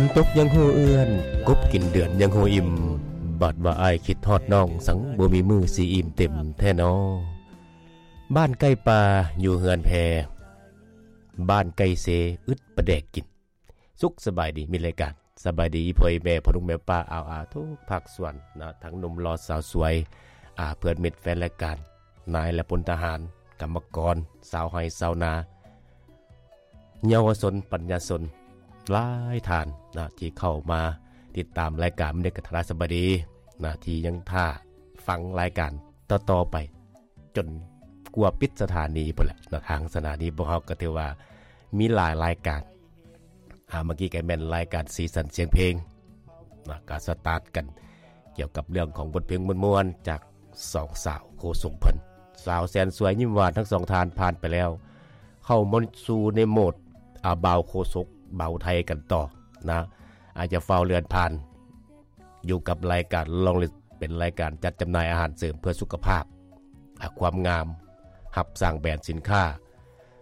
ຝົນຕົກຍັງຮູ້ເອື້ອນ, ກົບກິນເດືອນຍັງຮູ້ອີ່ມ, ບາດວ່າອ້າຍຄິດຮອດນ້ອງ, ສັງບໍ່ມີມື້ຊິອີ່ມເຕັມແທ້ນໍ. ບ້ານໃກ້ປ່າຢູ່ເຮືອນແພ, ບ້ານໃກ້ເຊອຶດປາແດກກິນ. ສຸກສະບາຍດີ, ມີລາຍການສະບາຍດີພໍ່ແມ່ພໍ່ລຸງແມ່ປ້າອາວອາທຸກພາກສ່ວນນະ, ທັງໜຸ່ມຫຼໍ່ສາວສວຍ, ອາ ເພື່ອນມິດແຟນລາຍການ, ນາຍແລະພົນທະຫານ, ກຳມະກອນ, ຊາວໄຮ່ຊາວນາ, ເຍົາວະຊົນ, ປັນຍາຊົນຫຼາຍທ່ານນະ ທີ່ເຂົ້າມາຕິດຕາມລາຍການ. ມື້ນີ້ກໍທັກທາຍສະບາຍດີນະ ທີ່ຍັງຖ້າຟັງລາຍການຕໍ່ໆໄປ ຈົນກວ່າປິດສະຖານີພຸ້ນແຫຼະເນາະ. ທາງສະຖານີພວກເຮົາກໍຖືວ່າມີຫຼາຍລາຍການ, ອາ ເມື່ອກີ້ກໍແມ່ນລາຍການສີສັນສຽງເພງນະ, ກໍສະຕາດກັນກ່ຽວກັບເລື່ອງຂອງບົດເພງມ່ວນໆຈາກສອງສາວໂຄສົກເພິ່ນ, ສາວແສນສວຍຍິ້ມຫວານ. ທັງສອງທ່ານຜ່ານໄປແລ້ວ, ເຂົ້າມາສູ່ໃນໂໝດ ອາ ບ່າວໂຄສົກບ່າວໄທກັນຕໍ່ນະ. ອາດຈະຟ້າວເລື່ອນຜ່ານ ຢູ່ກັບລາຍການລອງລິດ ເປັນລາຍການຈັດຈຳໜ່າຍອາຫານເສີມເພື່ອສຸຂະພາບ, ອາ ຄວາມງາມ, ຮັບສ້າງແບຣນສິນຄ້າ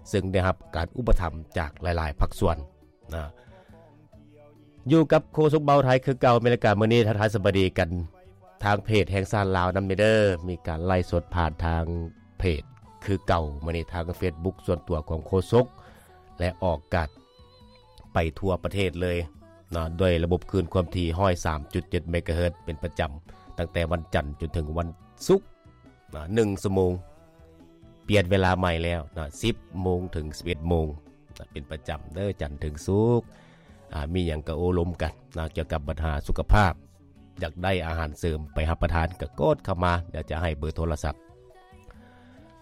ເຊິ່ງໄດ້ຮັບການອຸປະຖຳຈາກຫຼາຍໆພາກສ່ວນນະ. ຢູ່ກັບໂຄສົກບ່າວໄທຄືເກົ່າ. ແມ່ນລາຍການມື້ນີ້ທັກທາຍສະບາຍດີກັນທາງເພຈແຫ່ງຊາດລາວນຳເດີ, ມີການໄລຟ໌ສົດຜ່ານທາງເພຈຄືເກົ່າ. ມື້ນີ້ທາງເຟສບຸກສ່ວນຕົວຂອງໂຄສົກ ແລະ ອອກອາກາດ ໄປທົ່ວປະເທດເລີຍເນາະ ດ້ວຍລະບົບຄື້ນຄວາມຖີ່ຮ້ອຍສາມຈຸດເຈັດເມກາເຮີດເປັນປະຈຳ ຕັ້ງແຕ່ວັນຈັນຈົນເຖິງວັນສຸກເນາະ ໜຶ່ງຊົ່ວໂມງ. ປ່ຽນເວລາໃໝ່ແລ້ວເນາະ ສິບໂມງເຖິງສິບເອັດໂມງເນາະ ເປັນປະຈຳເດີ ຈັນເຖິງສຸກ. ອາ ມີຫຍັງກໍໂອ້ລົມກັນເນາະ ກ່ຽວກັບບັນຫາສຸຂະພາບ. ຢາກໄດ້ອາຫານເສີມໄປຮັບປະທານກໍກົດເຂົ້າມາ, ດຽວຈະໃຫ້ເບີໂທລະສັບ.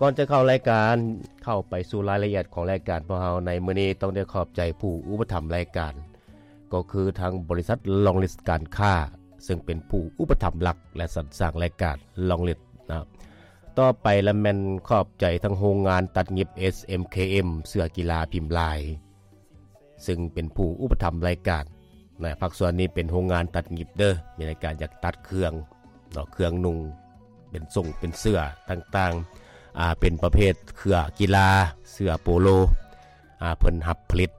ກ່ອນຈະເຂົ້າລາຍການ, ເຂົ້າໄປສູ່ລາຍລະອຽດຂອງລາຍການພວກເຮົາໃນມື້ນີ້, ຕ້ອງໄດ້ຂອບໃຈຜູ້ອຸປະຖຳລາຍການ, ກໍຄືທາງບໍລິສັດລອງລິດການຄ້າ, ເຊິ່ງເປັນຜູ້ອຸປະຖຳຫຼັກ ແລະ ສັນສ້າງລາຍການລອງລິດນະ. ຕໍ່ໄປລະແມ່ນຂອບໃຈທາງໂຮງງານຕັດຫຍິບ ເອສເອັມເຄເອັມ ເສື້ອກິລາພິມລາຍ ເຊິ່ງເປັນຜູ້ອຸປະຖຳລາຍການນະ. ພາກສ່ວນນີ້ເປັນໂຮງງານຕັດຫຍິບເດີ, ມີລາຍການຢາກຕັດເຄື່ອງເນາະ, ເຄື່ອງນຸ່ງ ເປັນສົ້ງເປັນເສື້ອຕ່າງໆ, ອາ ເປັນປະເພດເສື້ອກິລາ, ເສື້ອໂປໂລ, ອາ ເພິ່ນຮັບຜະລິດ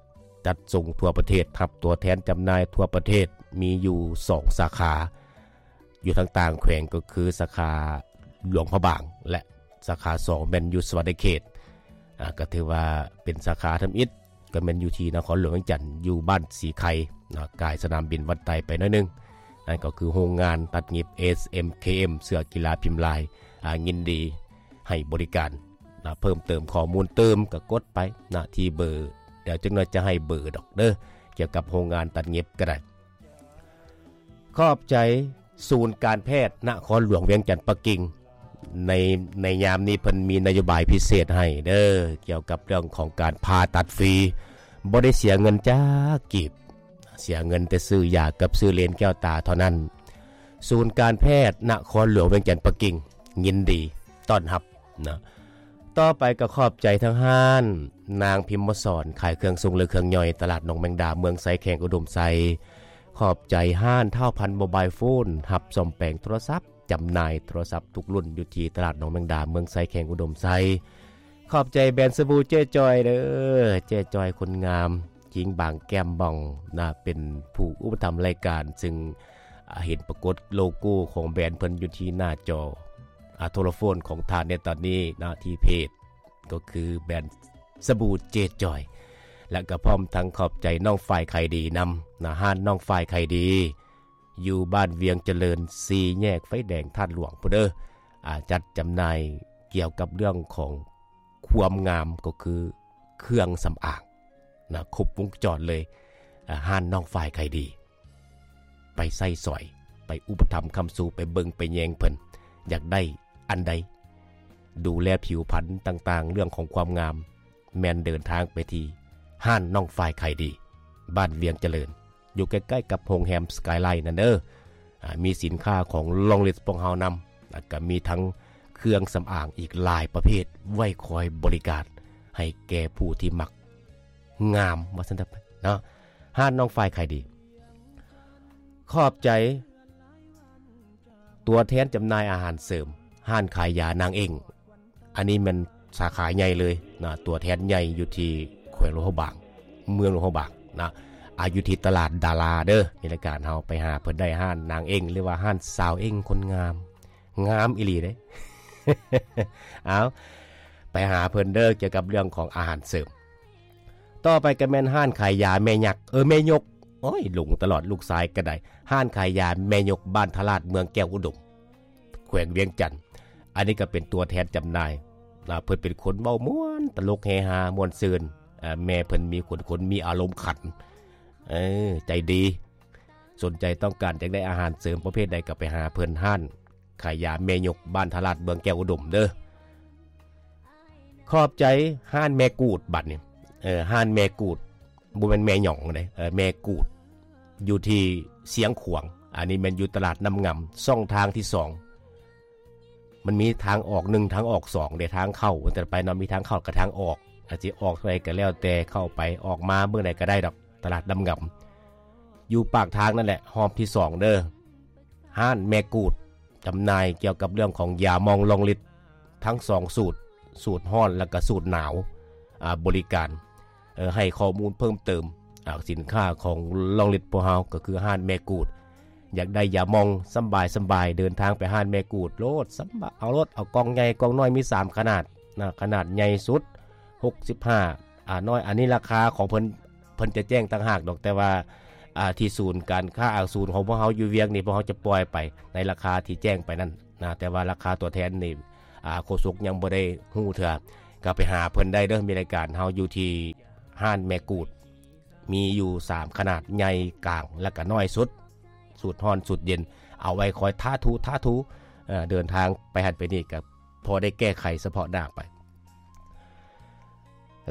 ຈັດສົ່ງທົ່ວປະເທດ, ຮັບຕົວແທນຈຳໜ່າຍທົ່ວປະເທດ, ມີຢູ່ສອງສາຂາ ຢູ່ທາງຕ່າງແຂວງ ກໍຄືສາຂາຫຼວງພະບາງ ແລະ ສາຂາສອງແມ່ນຢູ່ສະຫວັນນະເຂດ. ອາ ກໍຖືວ່າເປັນສາຂາທຳອິດ ກໍແມ່ນຢູ່ທີ່ນະຄອນຫຼວງວຽງຈັນ ຢູ່ບ້ານສີໄຄເນາະ, ກາຍສະໜາມບິນວັດໄຕໄປໜ້ອຍໜຶ່ງ. ນັ້ນກໍຄືໂຮງງານຕັດຫຍິບ ເອສເອັມເຄເອັມ ເສື້ອກິລາພິມລາຍ, ອາ ຍິນດີໃຫ້ບໍລິການນະ. ເພີ່ມເຕີມຂໍ້ມູນຕື່ມກໍກົດໄປນະ ທີ່ເບີ, ດຽວຈັກໜ້ອຍຈະໃຫ້ເບີດອກເດີ, ກ່ຽວກັບໂຮງງານຕັດຫຍິບກໍໄດ້. ຂອບໃຈສູນການແພດນະຄອນຫຼວງວຽງຈັນປັກກິ່ງ ໃນ ໃນຍາມນີ້ເພິ່ນມີນະໂຍບາຍພິເສດໃຫ້ເດີ ກ່ຽວກັບເລື່ອງຂອງການຜ່າຕັດຟຣີ, ບໍ່ໄດ້ເສຍເງິນຈັກກີບ, ເສຍເງິນແຕ່ຊື້ຢາກັບຊື້ເລນແກ້ວຕາເທົ່ານັ້ນ. ສູນການແພດນະຄອນຫຼວງວຽງຈັນປັກກິ່ງ ຍິນດີຕ້ອນຮັບນະ. ຕໍ່ໄປກໍຂອບໃຈທາງຮ້ານນາງພິມມະສອນ ຂາຍເຄື່ອງຊົງ ແລະ ເຄື່ອງຍ່ອຍ ຕະຫຼາດໜອງແມງດາ ເມືອງໄຊ ແຂວງອຸດົມໄຊ. ຂອບໃຈຮ້ານທ້າວພັນໂມບາຍໂຟນ ຮັບສ້ອມແປງໂທລະສັບ, ຈຳໜ່າຍໂທລະສັບທຸກລຸ້ນ ຢູ່ທີ່ຕະຫຼາດໜອງແມງດາ ເມືອງໄຊ ແຂວງອຸດົມໄຊ. ຂອບໃຈແບຣນສະບູເຈ້ຈອຍເດີ, ເຈ້ຈອຍຄົນງາມ ຈິງບາງແກ້ມບ່ອງນະ ເປັນຜູ້ອຸປະຖຳລາຍການ, ເຊິ່ງ ອາ ເຫັນປາກົດໂລໂກ້ຂອງແບຣນເພິ່ນຢູ່ທີ່ໜ້າຈໍ ອາ ໂທລະໂຟນຂອງທ່ານໃນຕອນນີ້ນະ ທີ່ເພຈ ກໍຄືແບຣນສະບູເຈຈອຍ ແລະ ກໍພ້ອມທັງຂອບໃຈນ້ອງຝ້າຍໄຂ່ດີນຳນະ, ຮ້ານນ້ອງຝ້າຍໄຂ່ດີ ຢູ່ບ້ານວຽງຈະເລີນ ສີ່ແຍກໄຟແດງທາດຫຼວງພຸ້ນເດີ. ອາ ຈັດຈຳໜ່າຍກ່ຽວກັບເລື່ອງຂອງຄວາມງາມ ກໍຄືເຄື່ອງສຳອາງນະ ຄົບວົງຈອນເລີຍ. ອາ ຮ້ານນ້ອງຝ້າຍໄຂ່ດີ ໄປໃຊ້ສອຍ, ໄປອຸປະຖຳຄ້ຳຊູ, ໄປເບິ່ງໄປແຍງເພິ່ນ, ຢາກໄດ້ອັນໃດ ດູແລຜິວພັນຕ່າງໆ ເລື່ອງຂອງຄວາມງາມ, ແມ່ນເດີນທາງໄປທີ່ຮ້ານນ້ອງຝ້າຍໄຂ່ດີ ບ້ານວຽງຈະເລີນ, ຢູ່ໃກ້ໆກັບໂຮງແຮມສະກາຍໄລນັ້ນເດີ. ອາ ມີສິນຄ້າຂອງລອງລິດພວກເຮົານຳ, ແລ້ວກໍມີທັງເຄື່ອງສຳອາງອີກຫຼາຍປະເພດ ໄວ້ຄອຍບໍລິການໃຫ້ແກ່ຜູ້ທີ່ມັກ ງາມວ່າຊັ້ນເຖາະເນາະ. ຮ້ານນ້ອງຝ້າຍໄຂ່ດີ ຂອບໃຈຕົວແທນຈຳໜ່າຍອາຫານເສີມ ຮ້ານຂາຍຢານາງເອັ້ງ, ອັນນີ້ແມ່ນສາຂາໃຫຍ່ເລີຍນະ, ຕົວແທນໃຫຍ່ຢູ່ທີ່ແຂວງຫຼວງພະບາງ, ເມືອງຫຼວງພະບາງນະ. ອາ ຢູ່ທີ່ຕະຫຼາດດາລາເດີ. ມີລາຍການເຮົາໄປຫາເພິ່ນໄດ້ຮ້ານນາງເອັ້ງ ຫຼືວ່າຮ້ານສາວເອັ້ງຄົນງາມ ງາມອີ່ຫຼີເດ້. ເອົາ ໄປຫາເພິ່ນເດີ ກ່ຽວກັບເລື່ອງຂອງອາຫານເສີມ. ຕໍ່ໄປກໍແມ່ນຮ້ານຂາຍຢາແມ່ຍັກ ເອີ ແມ່ຍົກ ໂອ້ຍ ຫຼົງຕະຫຼອດ ລູກຊາຍກໍໄດ້. ຮ້ານຂາຍຢາແມ່ຍົກ ບ້ານທະລາດ ເມືອງແກ້ວອຸດົມ ແຂວງວຽງຈັນ. ອັນນີ້ກໍເປັນຕົວແທນຈຳໜ່າຍ. ອາ ເພິ່ນເປັນຄົນເວົ້າມ່ວນ ຕະຫຼົກເຮຮາ ມ່ວນຊື່ນ. ອາ ແມ່ເພິ່ນມີຄົນ ຄົນມີອາລົມຂັນ ເອີ ໃຈດີ. ສົນໃຈຕ້ອງການຢາກໄດ້ອາຫານເສີມປະເພດໃດກໍໄປຫາເພິ່ນ ຮ້ານຂາຍຢາແມ່ຍົກ ບ້ານທະລາດ ເມືອງແກ້ວອຸດົມເດີ. ຂອບໃຈຮ້ານແມ່ກູດບັດນີ້ ເອີ ຮ້ານແມ່ກູດ ບໍ່ແມ່ນແມ່ຫຍັງເດ້ ເອີ ແມ່ກູດ ຢູ່ທີ່ຊຽງຂວາງ. ອັນນີ້ແມ່ນຢູ່ຕະຫຼາດນ້ຳງາມ ຊ່ອງທາງທີສອງ. ມັນມີທາງອອກໜຶ່ງ ທາງອອກສອງເດ້ ທາງເຂົ້າ ແຕ່ໄປເນາະ ມີທາງເຂົ້າກັບທາງອອກ. ອາດຊິອອກເທົ່າໃດກໍແລ້ວແຕ່ເຂົ້າໄປ ອອກມາເບິ່ງໃດກໍໄດ້ດອກ ຕະຫຼາດນ້ຳງາມ ຢູ່ປາກທາງນັ້ນແຫຼະ ຮອບທີສອງເດີ. ຮ້ານແມ່ກູດ ຈຳໜ່າຍກ່ຽວກັບເລື່ອງຂອງຢາໝອງລອງລິດ ທັງສອງສູດ ສູດຮ້ອນ ແລ້ວກໍສູດໜາວ. ອາ ບໍລິການ ເອີ ໃຫ້ຂໍ້ມູນເພີ່ມເຕີມ. ອາ ສິນຄ້າຂອງລອງລິດພວກເຮົາກໍຄືຮ້ານແມ່ກູດ. ຢາກໄດ້ຢາໝອງສະບາຍສະບາຍ ເດີນທາງໄປຮ້ານແມ່ກູດໂລດ ສະບາຍ ເອົາໂລດ ເອົາກ່ອງໃຫຍ່ກ່ອງນ້ອຍ ມີສາມຂະໜາດນະ ຂະໜາດໃຫຍ່ສຸດຫົກສິບຫ້າ ອາ ນ້ອຍ ອັນນີ້ລາຄາຂອງເພິ່ນ ເພິ່ນຈະແຈ້ງຕ່າງຫາກດອກ ແຕ່ວ່າ ອາ ທີ່ສູນການຄ້າ ອາ ສູນຂອງພວກເຮົາຢູ່ວຽງນີ້ ພວກເຮົາຈະປ່ອຍໄປໃນລາຄາທີ່ແຈ້ງໄປນັ້ນນະ ແຕ່ວ່າລາຄາຕົວແທນນີ້ ອາ ໂຄສົກຍັງບໍ່ໄດ້ຮູ້ເທື່ອ. ກໍໄປຫາເພິ່ນໄດ້ເດີ ມີລາຍການເຮົາຢູ່ທີ່ຮ້ານແມ່ກູດ ມີຢູ່ສາມຂະໜາດ ໃຫຍ່ ກາງ ແລ້ວກໍນ້ອຍສຸດ ສູດຮ້ອນ ສູດເຢັນ ເອົາໄວ້ຄອຍທາຖູ ທາຖູ ເອີ ເດີນທາງໄປຫັ້ນໄປນີ້ກໍພໍໄດ້ແກ້ໄຂສະເພາະໜ້າໄປ.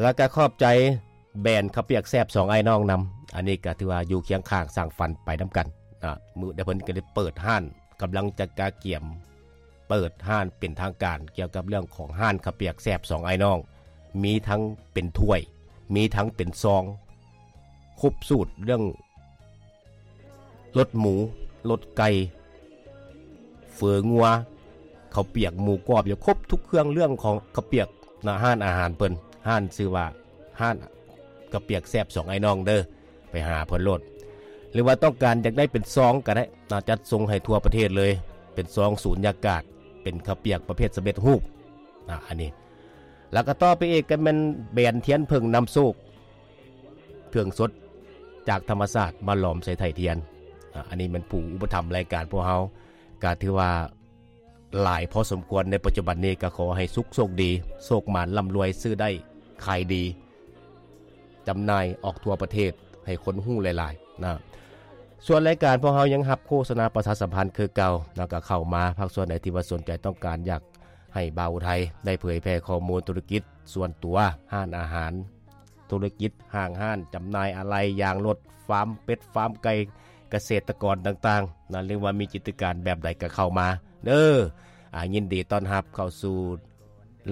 ແລ້ວກໍຂອບໃຈແບຣນເຂົ້າປຽກແຊບສອງອ້າຍນ້ອງນຳ. ອັນນີ້ກໍຖືວ່າຢູ່ຄຽງຂ້າງສ້າງຝັນໄປນຳກັນນະ. ມື້ໃດເພິ່ນກໍໄດ້ເປີດຮ້ານ ກຳລັງຈະກະກຽມເປີດຮ້ານເປັນທາງການ ກ່ຽວກັບເລື່ອງຂອງຮ້ານເຂົ້າປຽກແຊບສອງອ້າຍນ້ອງ. ມີທັງເປັນຖ້ວຍ ມີທັງເປັນຊອງ ຄົບສູດເລື່ອງລົດໝູ ລົດໄກ່ ເຝີງົວ ເຂົ້າປຽກ ໝູກອບ ຢູ່ຄົບທຸກເຄື່ອງເລື່ອງຂອງເຂົ້າປຽກນະ. ຮ້ານອາຫານເພິ່ນ ຮ້ານຊື່ວ່າຮ້ານເຂົ້າປຽກແຊບສອງອ້າຍນ້ອງເດີ. ໄປຫາເພິ່ນໂລດ ຫຼືວ່າຕ້ອງການຢາກໄດ້ເປັນຊອງກໍໄດ້ນະ ຈັດສົ່ງໃຫ້ທົ່ວປະເທດເລີຍ ເປັນຊອງສູນຍາກາດ ເປັນເຂົ້າປຽກປະເພດສຳເລັດຮູບນະ ອັນນີ້. ແລ້ວກໍຕໍ່ໄປອີກກໍແມ່ນແບຣນທຽນເຜິ້ງນຳໂຊກ ເຄື່ອງສົດຈາກທຳມະຊາດມາຫຼອມໃສ່ໄຖທຽນ. ອາ ອັນນີ້ແມ່ນຜູ້ອຸປະຖຳລາຍການພວກເຮົາ ກໍຖືວ່າ ຫຼາຍພໍສົມຄວນໃນປັດຈຸບັນນີ້. ກໍຂໍໃຫ້ສຸກໂຊກດີ ໂຊກໝານ ລ່ຳລວຍ ຊື້ໄດ້ຂາຍດີ ຈຳໜ່າຍອອກທົ່ວປະເທດ ໃຫ້ຄົນຮູ້ຫຼາຍໆນະ. ສ່ວນລາຍການພວກເຮົາຍັງຮັບໂຄສະນາປະຊາສຳພັນຄືເກົ່ານະ. ກໍເຂົ້າມາ ພາກສ່ວນໃດທີ່ວ່າສົນໃຈຕ້ອງການຢາກໃຫ້ບ່າວໄທໄດ້ເຜີຍແຜ່ຂໍ້ມູນທຸລະກິດສ່ວນຕົວ, ຮ້ານອາຫານ, ທຸລະກິດຫ້າງຮ້ານຈຳໜ່າຍອາໄຫຼ່ຢາງລົດ, ຟາມເປັດ, ຟາມໄກ່, ກະເສດຕະກອນຕ່າງໆນະ ຫຼືວ່າມີກິດຈະການແບບໃດກໍເຂົ້າມາເດີ. ອາ ຍິນດີຕ້ອນຮັບເຂົ້າສູ່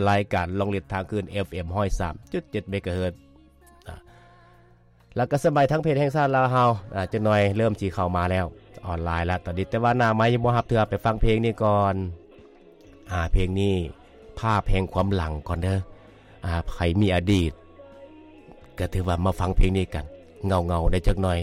ລາຍການລອງລິດທາງຄື້ນ ເອັຟເອັມ ຮ້ອຍສາມຈຸດເຈັດ ເມກາເຮີດ. ອາ ແລ້ວກໍສະບາຍທາງເພຈແຫ່ງຊາດລາວເຮົາ ອາ ຈັກໜ່ອຍເລີ່ມຊິເຂົ້າມາແລ້ວ ອອນລາຍແລ້ວຕອນນີ້ ແຕ່ວ່າໜ້າໄມຍັງບໍ່ຮັບເທື່ອ. ໄປຟັງເພງນີ້ກ່ອນ. ອາ ເພງນີ້ພາບແຫ່ງຄວາມຫຼັງກ່ອນເດີ. ອາ ໃຜມີອະດີດ ກໍຖືວ່າມາຟັງເພງນີ້ກັນ ເຫງົາໆໄດ້ຈັກໜ່ອຍ.